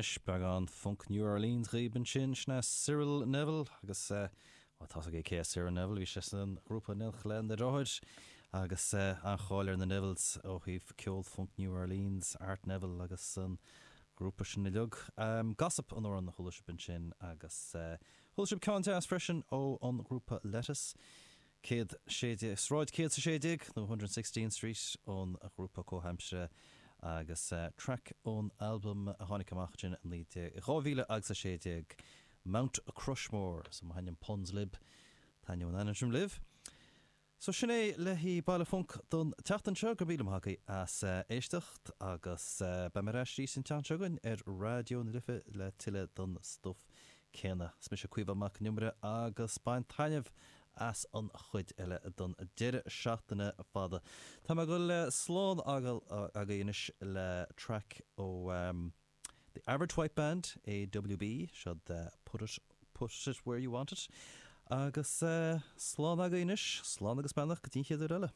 anois, beagán Funk New Orleans dhaoib ansin, sin é Cyril Neville agus bhuel tá's agaibh cé é Cyril Neville, bhí sé san ghrúpa in éineacht lena dheartháir agus an-cháil ar na Nevilles ó thaobh ceol Funk New Orleans, Art Neville agus an grúpa sin uilig. Gossip an amhrán a chuala sibh ansin agus chuala sibh ceann deas freisin ó an ghrúpa Lettuce. 116, Sráid 116 nó 116 Street ón ghrúpa comhaimseartha agus traic ón albam a tháinig amach ansin i 19, 2016, Mount Crushmore. So má thaitníonn puns libh, taitneoidh an ainm sin libh. So sin é le haghaidh Baile Func don tseachtain seo. Go raibh míle maith agaibh as éisteacht agus beidh mé ar ais arís an tseachtain seo chugainn ar Raidió na Life le tuilleadh don stuif céanna. Is mise Caoimhe Mac Con Iomaire agus bain taitneamh as an chuid eile don deireadh seachtaine fada. Tá mé ag dul slán a fhágáil agaibh anois le traic ó The Average White Band, AWB, seo Put It, Put It Where You Want It. Agus slán agaibh anois, slán agus beannacht go dtí an chéad uair eile.